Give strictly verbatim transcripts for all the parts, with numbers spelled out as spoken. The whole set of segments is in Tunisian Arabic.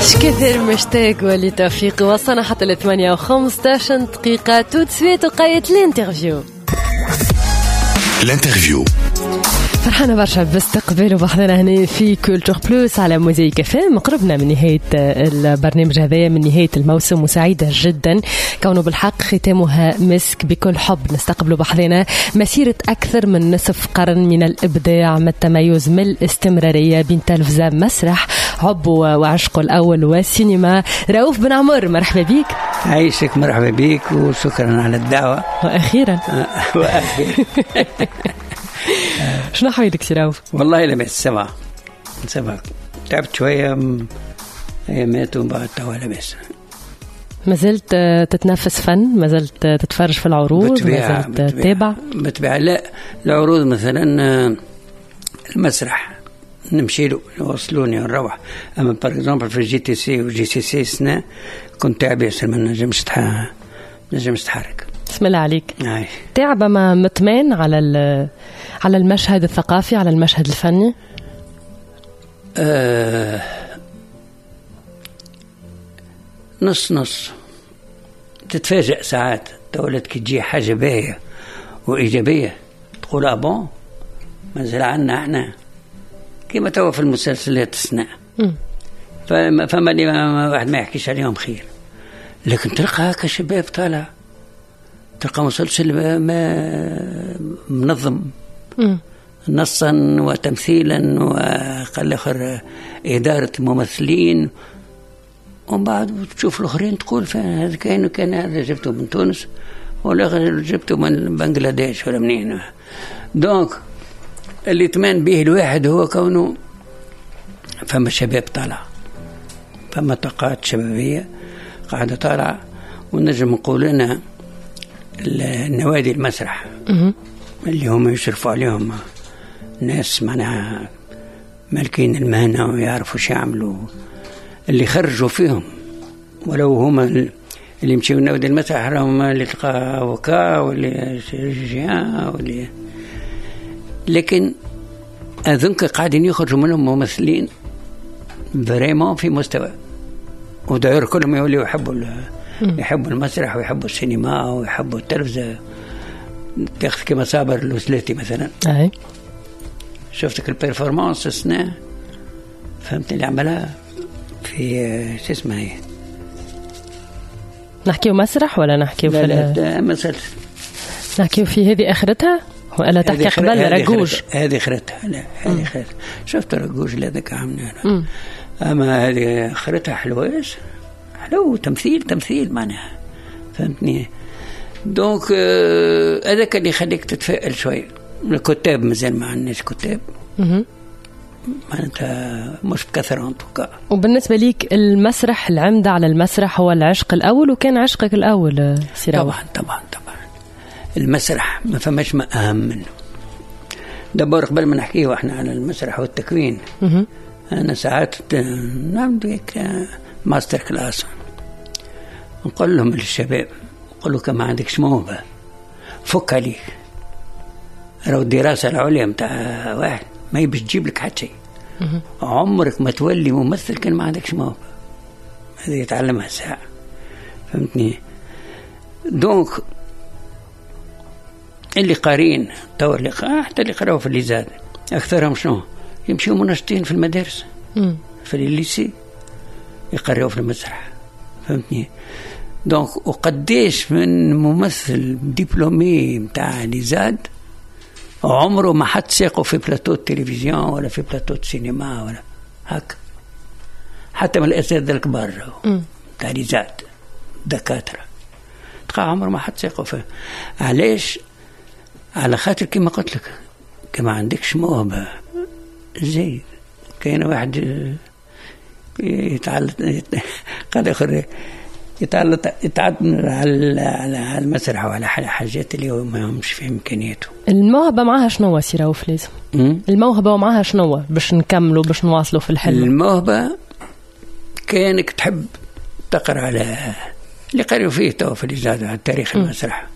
كثير مشتاق ولتوفيق. وصلنا حتى ل ثمانية وخمسطاش دقيقة. tout de suite وقيت l'interview. l'interview. فرحانة برشا باستقبال وبحضنا هنا في Culture Plus على موزايك اف ام. قربنا من نهاية البرنامج هذايا، من نهاية الموسم، وسعيدة جدا كونه بالحق ختامها مسك. بكل حب نستقبل بحضنا مسيرة أكثر من نصف قرن من الإبداع، من التميز، من الاستمرارية بين تلفزة، مسرح، حب وعشقه الأول والسينما. رؤوف بن عمر، مرحبا بك. عايشك، مرحبا بك وشكرا على الدعوة. وأخيرا. وأخيرا. شنو حوالك سي رؤوف؟ والله لاباس، ça va ça va، تعبت شوية ايامات ومن بعد توا لاباس. ما زلت تتنفس فن؟ ما زلت تتفرج في العروض؟ ما زلت تتابع؟ بالطبيعة. لا، العروض مثلا المسرح نمشي له، يوصلوني ونروح. اما par exemple في جي تي سي و جي سي سي سنة كنت تعب ياسر، ما نجمش نجمش نتحرك. بسم الله عليك. تعب ما مطمان على على المشهد الثقافي، على المشهد الفني؟ آه نص نص. تتفاجأ ساعات تولد كي تجي حاجة باهية وإيجابية تقول ah bon، مازال عنا احنا كيما توا في المسلسلات السنة فما, فما اللي واحد ما يحكيش عليهم خير، لكن تلقى هكا شباب طالع، تلقى مسلسل ما منظم نصا وتمثيلا وقال اخر ادارة الممثلين، ومن بعد تشوف الاخرين تقول هذا كان كان هذا جبته من تونس ولا جبته من بنغلاديش ولا منين. donc اللي يطمان به الواحد هو كونه فما شباب طالع، فما طاقات شبابية قاعدة طالعه. ونجم نقول لنا النوادي المسرح اللي هم يشرفوا عليهم ناس معناها مالكين المهنة ويعرفوا شو يعملوا، اللي خرجوا فيهم، ولو هما اللي يمشيو نوادي المسرح راهم اللي تلقى avocat واللي chirurgien واللي، لكن أظنك قاعدين يخرجوا منهم ممثلين vraiment في مستوى. وداير كلهم يوليوا يحبوا يحبوا المسرح ويحبوا السينما ويحبوا التلفزة. تاخذ كما صابر الوسلاتي مثلا. أي. شفتك ال performance السنة، فهمت، اللي عملها في شو اسمها هي؟ نحكيو مسرح ولا نحكيو في لا مسلسل؟ نحكيو في هذه اخرتها ولا تحكي قبل رجوج؟ هذه اخرتها. لا، هذه اخرتها. شفت رجوج اللي هذاك عملنا، اما هذه اخرتها حلوة، حلو، تمثيل تمثيل معناها، فهمتني؟ donc آه، هذاك اللي يخليك تتفائل شوي. الكتاب مازال ما عندناش كتاب، معناتها مش بكثرة en tout cas. وبالنسبة ليك المسرح، العمدة على المسرح هو العشق الأول، وكان عشقك الأول سي رؤوف؟ طبعا طبعا طبعا، المسرح ما فماش ما أهم منه. d'abord قبل ما نحكيه احنا على المسرح والتكوين، أنا ساعات نعمل master class، نقول لهم للشباب، نقول له ما عندكش موهبة فك عليك، راهو الدراسة العليا متاع واحد ما هي باش تجيب لك حتى شيء. عمرك ما تولي ممثل كان ما عندكش موهبة. هذه يتعلمها ساعة، فهمتني؟ donc اللي قارين تو، اللي حتى اللي قراوا في l'ISAD، اكثرهم شنو يمشيوا؟ منشطين في المدارس، في ال lycée، يقريوا في المسرح، فهمتني؟ donc وقديش من ممثل diplômé نتاع l'ISAD عمره ما حط ساقه في بلاتو التلفزيون ولا في بلاتو السينما ولا هكا، حتى من الاساتذة الكبار تاع l'ISAD، دكاتره، تلقى عمره ما حط ساقه في. علاش؟ على خاطر كما قلت لك، كما عندكش موهبة زيد. كاين واحد يتعلق، قال اخر يتعلق يتعدى على على المسرح وعلى حاجات اللي هو ما همش في امكانياته. الموهبة معاها شنو سي رؤوف لازم؟ الموهبة ومعاها شنو باش نكملوا، باش نواصلوا في الحلم؟ الموهبة كانك تحب تقرا على اللي قالوا فيه تو في l'ISAD على تاريخ المسرح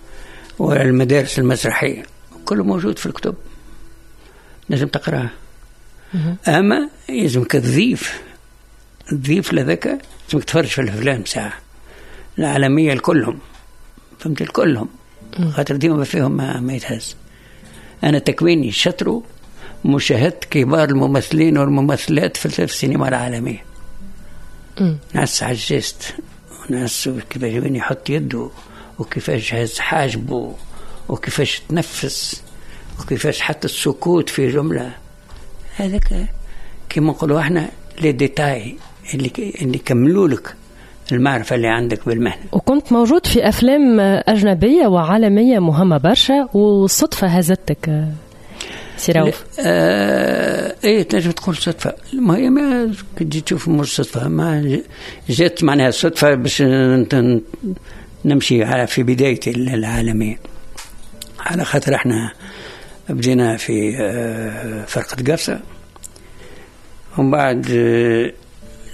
والمدارس المسرحيه، كله موجود في الكتب، لازم تقراه. اما لازمك تضيف تضيف لذاك لازمك تفرج في الافلام ساعة العالمية الكلهم، فهمت؟ الكلهم، خاطر ديما فيهم ما, ما يتهز. انا تكويني شطرو مشاهدة كبار الممثلين والممثلات في السينما العالمية. ناس على ال geste، وناس كيفاش وين يحط يده، وكيفاش هز حاجبه، وكيفاش تنفس، وكيفاش حتى السكوت في جملة. هذاك كيما نقولوا احنا les détails اللي اللي كملوا لك المعرفة اللي عندك بالمهنة. وكنت موجود في أفلام أجنبية وعالمية مهمة برشا، والصدفة هزتك سي رؤوف. آه ايه تنجم تقول صدفة. ما هي ما كنت تشوف مش صدفة، ما جات معناها صدفة باش نمشي على في بداية العالمية، على خاطر احنا بدينا في فرقة قفصة، ومن بعد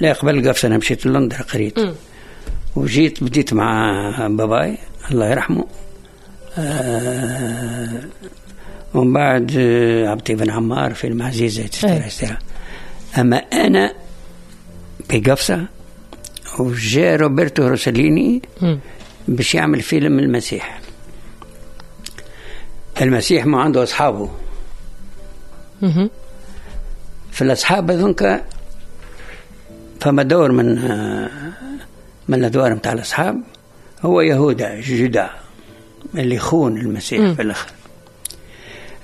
لا قبل قفصة أنا مشيت لندن قريت، وجيت بديت مع باباي الله يرحمه، آه ومن بعد عبد بن عمار في المعزيزة et cetera. أما أنا بقفصة وجاء روبرتو روسليني باش يعمل فيلم المسيح. المسيح ما عنده أصحابه، في الأصحاب هذونك فما دور من من الأدوار متاع الأصحاب هو يهودا جودا اللي خون المسيح. م. في الآخر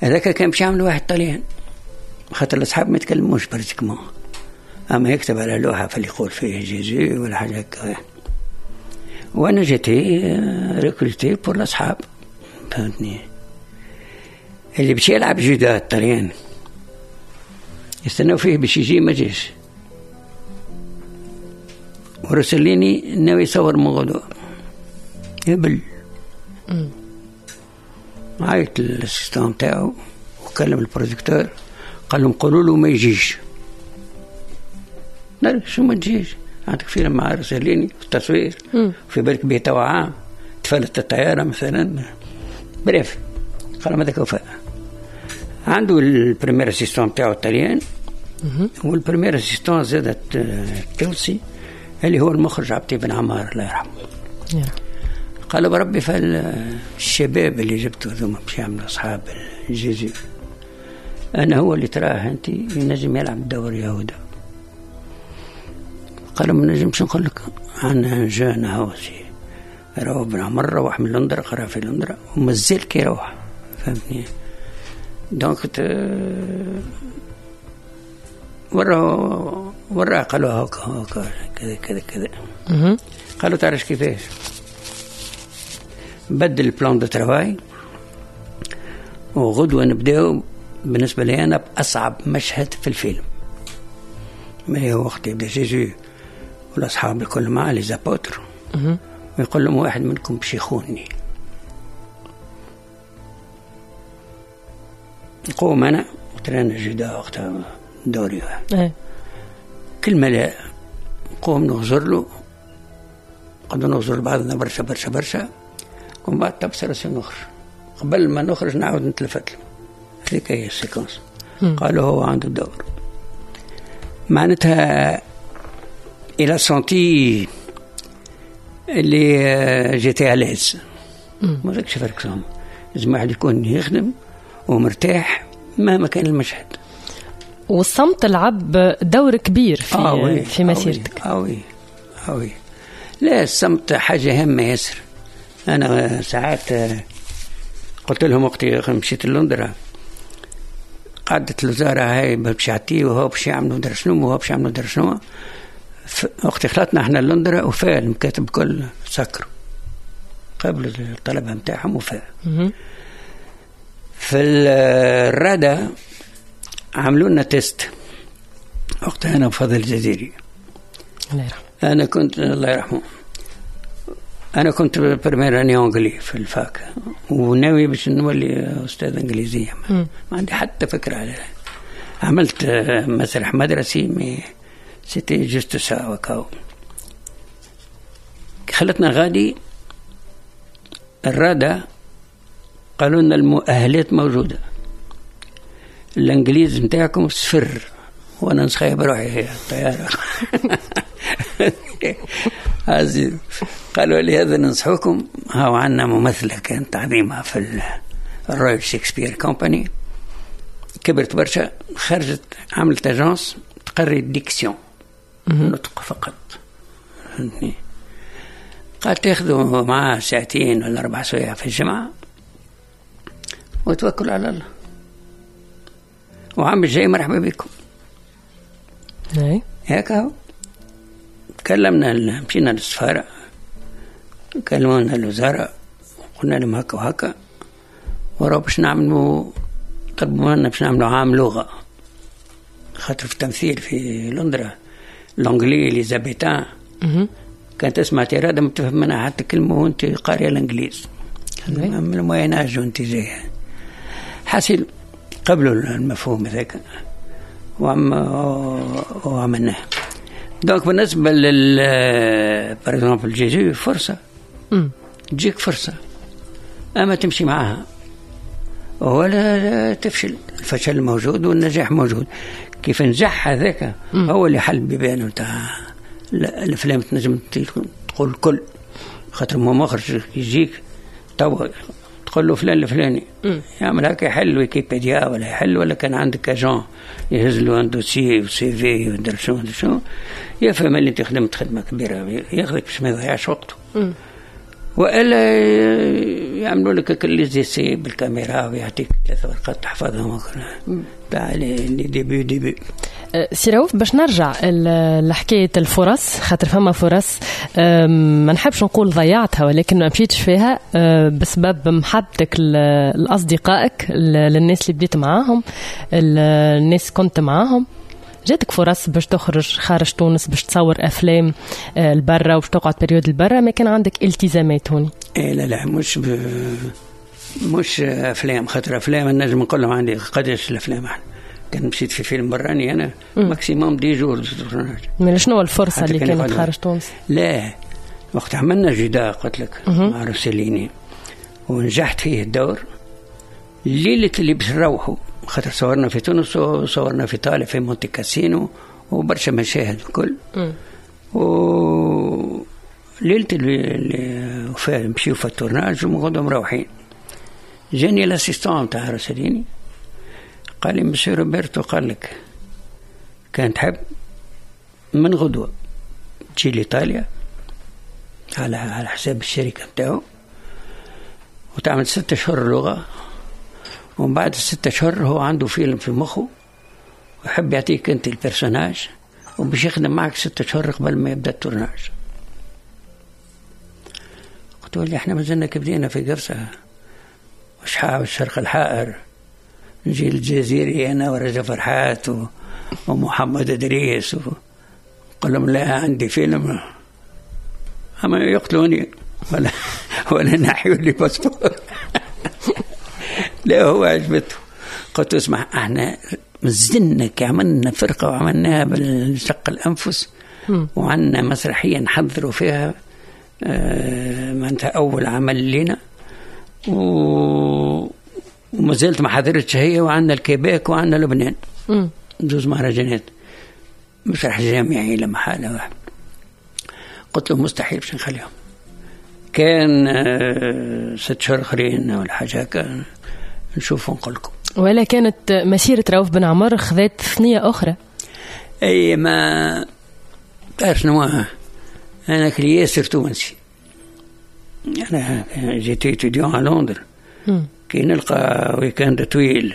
هذاك كان باش يعمل واحد طليان، خاطر الأصحاب ما يتكلموش pratiquement، أما يكتب على لوحة فاللي يقول فيه Jésus ولا حاجة هكا. وأنا j'étais recruté pour الأصحاب، فهمتني؟ اللي باش يلعب جودا الطليان يستناو فيه باش يجي، ما جيش. ورسليني ناوي يصور من غدوة هبل. عيط لل assistant تاعو وكلم ال producteur، قال لهم قولوا له ما يجيش. لا شو ما تجيش، عندك فيلم مع رسليني في التصوير، في بالك به توا عام تفلت الطيارة مثلا. bref قال لهم هذاك وفاء. عنده ال premier assistant تاعو الطليان، وال premier assistant زادت التونسي اللي هو المخرج عبد بن عمار الله يرحمه. قالوا بربي فالشباب اللي جبته ذوما باش يعملوا اصحاب Jésus، انا هو اللي تراه انت ينجم يلعب دور يهودا. قالوا ما نجمش نقول لك، عندنا jeune هو سي روح بن عمر، روح من لندن، قرا في لندن ومازال كي يروح، فهمتني؟ donc وراه وراه قالوا هكا هكا كذا كذا كذا. قالوا تعرف كيفاش بدل ال plan de travail، وغدوة نبداو بالنسبة لي أنا بأصعب مشهد في الفيلم، ما هو وقت يبدا Jésus والأصحاب الكل مع les apôtres، ويقول لهم واحد منكم باش يخونني. نقوم أنا ترانا جدا وقتها دوري كلمة لا، نقوم نغزر له، قد نغزر لبعضنا برشا برشا برشا، ومن بعد تبصر راسي نخرج. قبل ما نخرج نعاود نتلفت له، هذيك هي ال séquence. قالوا هو عنده الدور، معناتها il a senti اللي j'étais à l'aise. ما ذاكش فرق صام، لازم واحد يكون يخدم ومرتاح مهما كان المشهد. والصمت لعب دور كبير في آه في مسيرتك. آه oui آه oui. لا الصمت حاجة هامة ياسر. أنا ساعات قلت لهم وقت مشيت لندرة، قعدت الوزارة هاي باش يعطيه وهو باش يعملوا در شنو وهو باش يعملوا در شنو. وقت خلطنا احنا لندرة وفاء المكاتب كل سكروا قبل الطلبة نتاعهم وفاء. في الرادة عملوا لنا test وقتها أنا وفضل الجزيري الله يرحمه. أنا كنت الله يرحمه أنا كنت première année anglais في ال fac، وناوي باش نولي أستاذ إنجليزية، ما, ما عندي حتى فكرة عليها. عملت مسرح مدرسي mais c'était juste ça وكاو. خلتنا غادي الرادة قالوا لنا المؤهلات موجودة، الإنجليز نتاعكم صفر، وأنا نسخيب روحي الطيارة. قالوا لي هذا ننصحوكم، هاو عندنا ممثلة كانت عظيمة في ال Royal Shakespeare Company، كبرت برشا، خرجت عملت agence تقري diction نطق فقط، فهمتني. قال تاخذوا معاه ساعتين ولا أربع سوايع في الجمعة وتوكلوا على الله، وعام الجاي مرحبا بكم. اي هيك هو. كلمنا، مشينا للسفارة، كلمونا الوزارة، قلنا لهم هكا وهكا، ورا باش نعملوا، طلبوا منا باش نعملوا عام لغة، خاطر في التمثيل في لندرا l'anglais élisabéthain كانت تسمع tirade ما تفهم منها حتى كلمة وانت قارية الانجليز من ال Moyen Âge وانت جاية. حاصل قبلوا المفهوم هذاك وعم وعملناه. donc بالنسبة لل par exemple Jésus فرصة، تجيك فرصة اما تمشي معاها ولا تفشل. الفشل موجود والنجاح موجود. كيف نجح هذاك هو اللي حل بيبانه نتاع الافلام، تنجم تقول كل خاطر ما مخرج يجيك توا تقول له فلان الفلاني يعمل هكا، يحل ويكيبيديا ولا يحل، ولا كان عندك agent يهز له un dossier و CV ودر شنو شنو، يفهم اللي انت خدمت خدمة كبيرة، ياخذك باش ما يضيعش وقته. والا يعملوا لك les essais بالكاميرا ويعطيك ثلاث ورقات تحفظهم تاع les débuts débuts. سي رؤوف، باش نرجع لحكاية الفرص، خاطر فما فرص ما نحبش نقول ضيعتها ولكن ما مشيتش فيها بسبب محبتك لأصدقائك، للناس اللي بديت معاهم، الناس كنت معاهم. جاتك فرص باش تخرج خارج تونس، باش تصور أفلام البرة وباش تقعد période البرة، ما كان عندك التزامات هوني. إيه لا لا، مش ب... مش أفلام، خاطر أفلام النجم نقول لهم عندي قداش الأفلام احنا. كان مشيت في فيلم براني أنا maximum dix jours. من شنو الفرصة اللي كانت خارج تونس؟ لا، وقت عملنا جداء قلت لك مع روسيليني ونجحت فيه الدور، الليلة اللي باش نروحوا، خاطر صورنا في تونس وصورنا في إيطاليا في مونتي كاسينو وبرشا مشاهد الكل. و ليلة اللي مشيو في ال tournage وغدوا مروحين، جاني l'assistant تاع روسيليني قال لي مسيو روبرتو، قال لك كان تحب من غدوة تجي لإيطاليا على على حساب الشركة نتاعو وتعمل ستة أشهر لغة، ومن بعد الستة أشهر هو عنده فيلم في مخه ويحب يعطيك أنت ال personnage وباش يخدم معك ستة أشهر قبل ما يبدأ ال tournage. قلت له احنا مازلنا كبدينا في قفصة وشحاب الشرق الحائر، نجي الجزيري أنا ورجا فرحات و... ومحمد إدريس و... قال لهم لا عندي فيلم، أما يقتلوني ولا ولا نحيوا لي passeport. لا هو عجبته. قلت اسمع، احنا مازلنا عملنا فرقة وعملناها بالشق الأنفس، وعندنا مسرحية نحضروا فيها اه معناتها أول عمل لنا و... وما زلت ما حضرتش هي، وعندنا الكيبيك وعندنا لبنان زوز مهرجانات مسرح جامعي لما حالة واحد. قلت له مستحيل باش نخليهم، كان ست شهور اخرين ولا حاجة هكا نشوف ونقول لكم. ولا كانت مسيره رؤوف بن عمر خذت ثنيه اخرى؟ اي ما تعرف شنو، انا كلي ياسر تونسي، انا j'étais étudiant à Londres، كي نلقى week-end طويل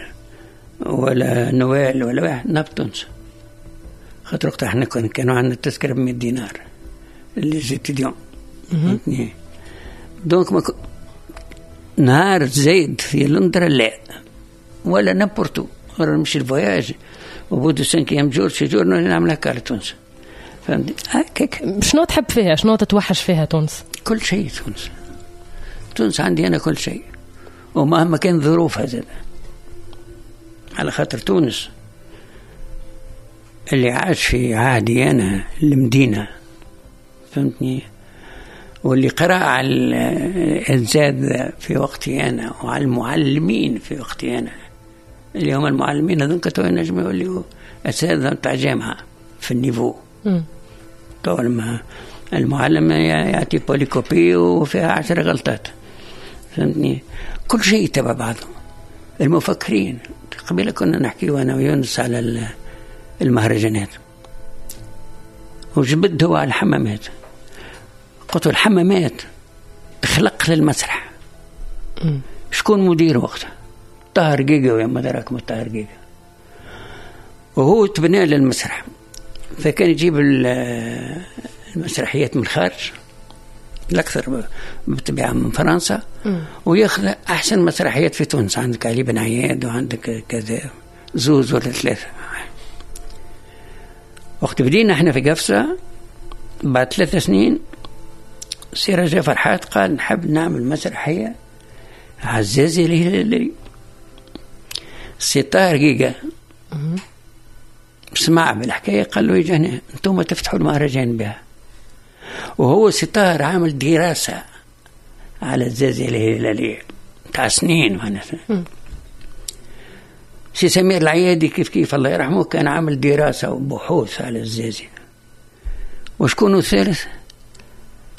ولا نوال ولا واحد نهبط تونس، خاطر وقتها احنا كانوا عندنا التذكرة ب مية دينار les étudiants، فهمتني. donc ما ك... نهار زايد في لندن لا ولا n'importe où، غير نمشي ال voyage au bout du cinquième jour six jours نعمل هكا على تونس، فهمتني هكاك. شنو تحب فيها؟ شنو تتوحش فيها تونس؟ كل شيء تونس، تونس عندي انا كل شيء، ومهما كان ظروفها زاد، على خاطر تونس اللي عاش في عهدي انا المدينة، فهمتني، واللي قرأ على الأساتذة في وقتي أنا وعلى المعلمين في وقتي أنا، اللي هم المعلمين هذوك تو ينجموا يوليوا أساتذة نتاع جامعة في ال niveau. تو المعلم يعطي polycopié وفيها عشر غلطات، فهمتني؟ كل شيء تبع بعضه. المفكرين قبل كنا نحكي وانا ويونس على المهرجانات، وجبد هو على الحمامات. قلت الحمامات تخلق للمسرح. شكون مدير وقتها؟ طاهر جيجا، ويا ما دراك ما طاهر جيجا، وهو تبنى للمسرح. فكان يجيب المسرحيات من الخارج، الأكثر بالطبيعة من فرنسا، وياخذ أحسن مسرحيات في تونس. عندك علي بن عياد وعندك كذا زوز ولا ثلاثة. وقت بدينا احنا في قفصة بعد ثلاث سنين، سي رجاء فرحات قال نحب نعمل مسرحية عزازي الهلالي. سي طاهر جيجا سمع بالحكاية، قال له يجي هنا انتم تفتحوا المهرجان بها. وهو سي طاهر عامل دراسة على الزازي الهلالية تاع سنين معناتها. سي سمير العيادي كيف كيف الله يرحمه كان عامل دراسة وبحوث على الزازي. وشكون الثالث؟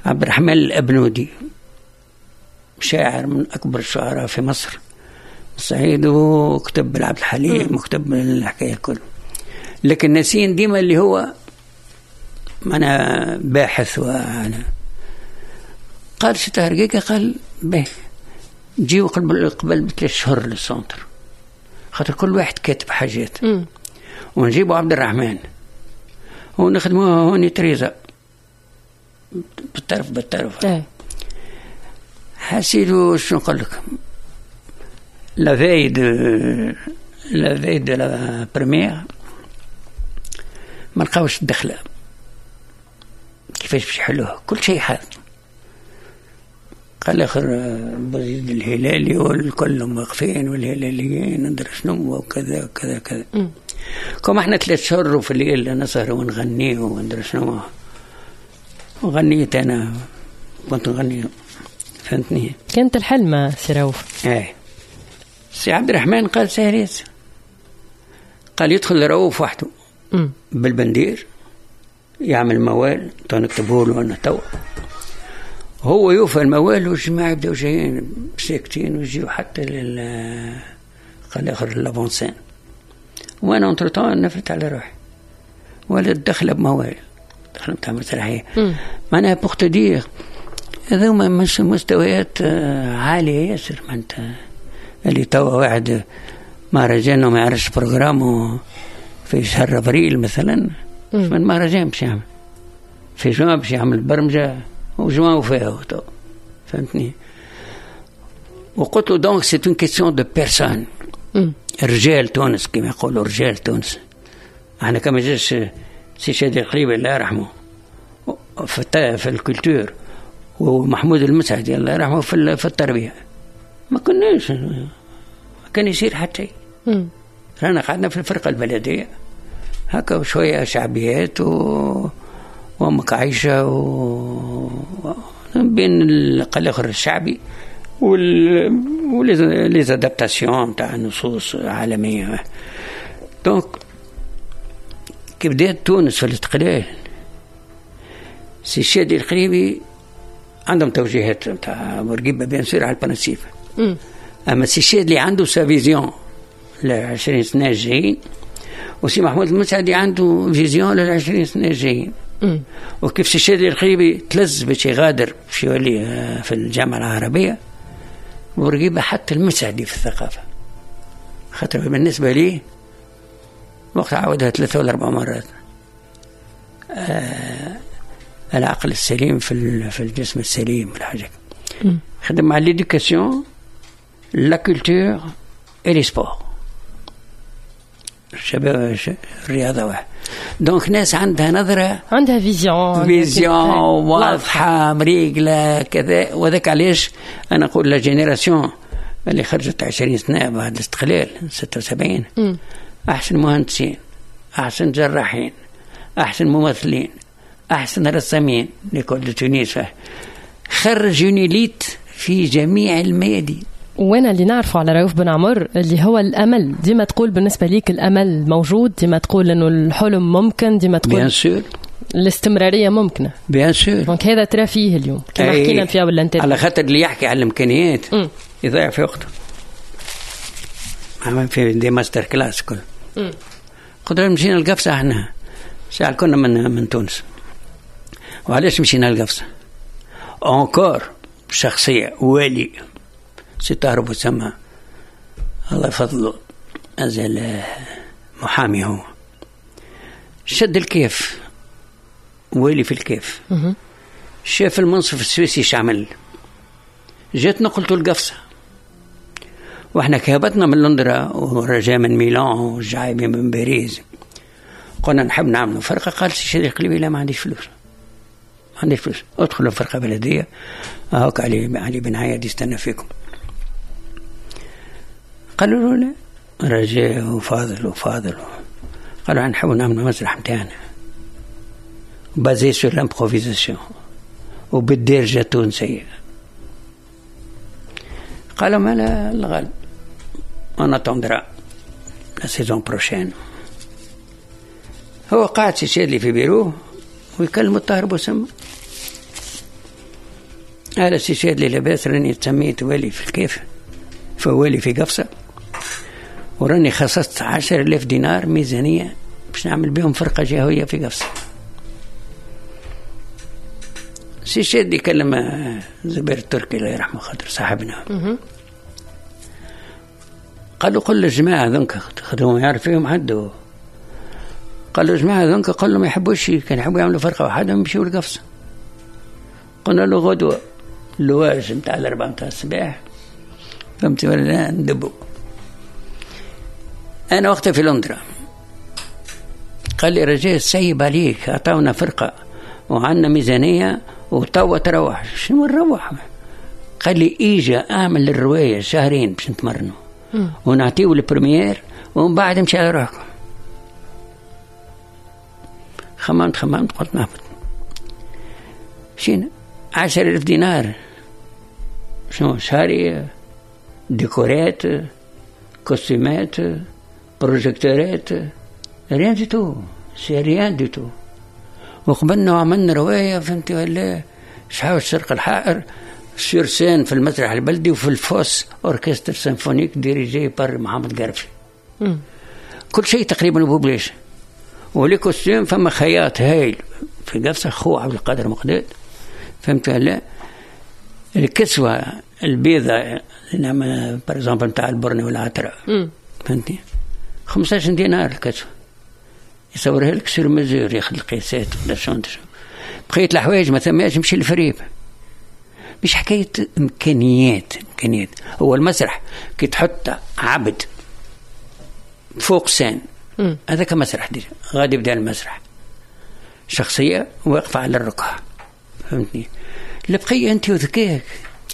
عبد الرحمن الأبنودي، شاعر من أكبر الشعراء في مصر الصعيد، وكتب بالعبد الحليم وكتب الحكاية الكل. لكن ناسين ديما اللي هو أنا باحث. وأنا قال سي طاهر جيجا، قال به جيو قبل قبل بثلاث شهور لل centre، خاطر كل واحد كاتب حاجات، ونجيبوا عبد الرحمن ونخدموها هوني تريزا بالطرف بالطرف. اه. حسيلو شنو نقول لك، la veille de la veille de la première ما لقاوش الدخلة كيفاش باش يحلوها، كل شيء حال. قال اخر بوزيد الهلالي والكل واقفين والهلاليين ندري شنو وكذا وكذا وكذا. كما احنا ثلاث شهور في الليل نسهر ونغني وندري شنو، وغنيت انا كنت نغني، فهمتني؟ كانت الحلمة سي رؤوف. ايه سي عبد الرحمن قال سهريس، قال يدخل رؤوف وحده بالبندير يعمل موال تو نكتبه له انا تو، هو يوفى الموال والجماعة يبداو جايين ساكتين ويجيو حتى لل قال اخر l'avant-scène، وانا entre-temps نفلت على روحي ولا الدخلة بموال، دخله نتاع مسرحية. معناها pour te dire هذوما مش مستويات عالية ياسر. معناتها اللي توا واحد مهرجان وما يعرفش programme في شهر ابريل مثلا، من مهرجان باش يعمل في جوان باش يعمل برمجة وجوان وفاه تو، فهمتني؟ وقلت له donc c'est une question de personnes. رجال تونس كما يقولوا، رجال تونس. احنا كما جاش سي شادي القريبي الله يرحمه في في ال culture، ومحمود المسعدي الله يرحمه في في التربية، ما كناش ما كان يصير حتى شيء. رانا قعدنا في الفرقة البلدية هكا شوية شعبيات و وامك عايشه و بين الاخر الشعبي وال و les adaptations تاع نصوص عالمية. donc كي بدات تونس في الاستقلال، سي الشادي القريبي عندهم توجيهات نتاع بورقيبة bien sûr على ال principe، اما سي الشادي عنده sa vision ل عشرين سنة الجايين، وسي محمود المسعدي عنده vision لل عشرين سنة الجايين. وكيف سي الشادي القريبي تلز باش يغادر باش يولي في الجامعة العربية، بورقيبة حتى المسعدي في الثقافة، خاطر بالنسبة لي وقت عاودها ثلاثة ولا أربع مرات، آه العقل السليم في في الجسم السليم والحاجة. خدم على l'éducation، la culture et les sports، الشباب الرياضة واحد. donc ناس عندها نظرة، عندها vision، vision واضحة مريقلة كذا. وذاك علاش أنا نقول la génération اللي خرجت عشرين سنة بعد الاستقلال ستة وسبعين، أحسن مهندسين، أحسن جراحين، أحسن ممثلين، أحسن رسامين، l'école de Tunis خرج une élite في جميع الميادين. وانا اللي نعرفه على رؤوف بن عمر اللي هو الامل، ديما تقول بالنسبة ليك الامل موجود، ديما تقول انه الحلم ممكن، ديما تقول bien sûr. الاستمرارية ممكنه. bien sûr. donc هذا ترى فيه اليوم كما حكينا فيها ولا انت على خاطر اللي يحكي على الامكانيات يضيع في وقته. عمل في des master class كل. قدرنا مشينا القفصه احنا ساعة كنا من من تونس. وعلاش مشينا القفصه؟ encore شخصية والي سي طاهر بوسما الله يفضله، أزل محامي، هو شد الكاف، والي في الكاف، شاف المنصف السويسي شعمل، جات نقلته القفصة. واحنا كهبتنا من لندرا ورجاء من ميلان والجعيبي من باريس، قلنا نحب نعملوا فرقة. قال سي شادي القليبي لا، ما عنديش فلوس، ما عنديش فلوس، ادخلوا فرقة بلدية، هاك علي علي بن عياد يستنى فيكم. قالوا له لا، رجاء وفاضل وفاضل قالوا نحب نعملوا مسرح نتاعنا basé sur l'improvisation وبالدارجة التونسية. قالوا ما لا الغالب on attendra la saison prochaine. هو قاعد سي شادلي في بيروه ويكلم الطاهر بوسما: هذا سي شادلي، لاباس؟ راني تسميت والي في الكاف، فوالي في قفصة، وراني خصصت عشر آلاف دينار ميزانية باش نعمل بهم فرقة جهوية في قفصة. سي شادي كلم زبير التركي الله يرحمه خاطر صاحبنا، قالوا قل للجماعة ذنك، خدموا يعرف فيهم حد، قالوا الجماعة ذنك قال لهم ما يحبوش، كان يحبوا يعملوا فرقة وحدهم يمشيوا لقفصة. قلنا له غدوة اللواج نتاع الأربعة نتاع الصباح، فهمتي ولا لا، ندبوا. أنا وقتها في لندرا، قال لي رجاء سيب عليك، عطاونا فرقة وعندنا ميزانية وتوا تروح. شنو نروح؟ قال لي إيجا أعمل الرواية شهرين باش نتمرنوا ونعطيو ال première ومن بعد امشي على روحكم. خممت خممت قلت نهبط. مشينا عشر ألف دينار، شنو شهري، ديكورات، كوستيمات، بروجيكتورات، rien du tout، c'est rien du tout. وقبلنا وعملنا رواية، فهمتي ولا، شحال الشرق الحائر sur scène في المسرح البلدي وفي ال fosse orchestre symphonique dirigé par محمد قرفي. كل شيء تقريبا ببلاش. و les costumes فما خياط هايل في قفصة خو عبد القادر مقداد، فهمت ولا. الكسوة البيضة نعم par exemple نتاع البرني والعترة، فهمتني، خمسطاش دينار الكسوة، يصورها لك sur mesure، ياخذ القياسات ولا شنو. بقية الحوايج ما ثماش، نمشي للفريب. مش حكاية إمكانيات، إمكانيات هو المسرح كي تحط عبد فوق scène هذاك مسرح déjà، غادي يبدا المسرح، شخصية واقفة على الركعة، فهمتني. البقية أنت وذكاك.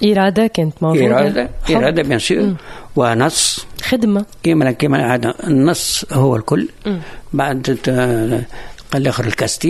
إرادة كانت موجودة. إرادة إرادة bien sûr، ونص. خدمة. كيما كيما النص هو الكل. مم. بعد قال الآخر ال casting.